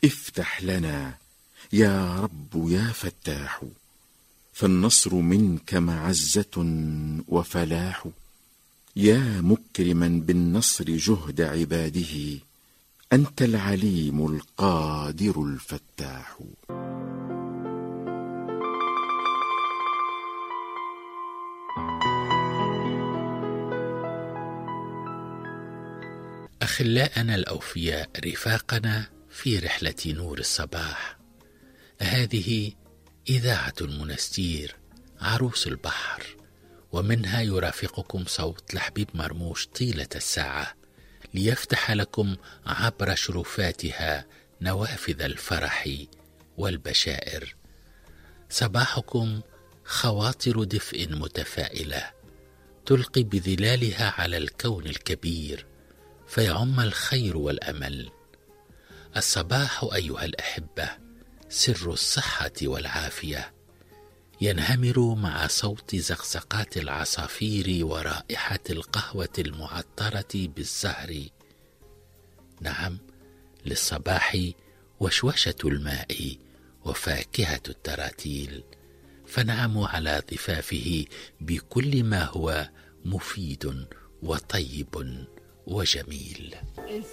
افتح لنا يا رب يا فتاح، فالنصر منك معزة وفلاح. يا مكرما بالنصر جهد عباده، أنت العليم القادر الفتاح. أخلاءنا الأوفياء، رفاقنا في رحلة نور الصباح، هذه إذاعة المنستير عروس البحر، ومنها يرافقكم صوت لحبيب مرموش طيلة الساعة ليفتح لكم عبر شرفاتها نوافذ الفرح والبشائر. صباحكم خواطر دفء متفائلة تلقي بظلالها على الكون الكبير فيعم الخير والأمل. الصباح أيها الأحبة سر الصحة والعافية، ينهمر مع صوت زقزقات العصافير ورائحة القهوة المعطرة بالزهر. نعم، للصباح وشوشة الماء وفاكهة التراتيل، فنعم على ضفافه بكل ما هو مفيد وطيب وجميل.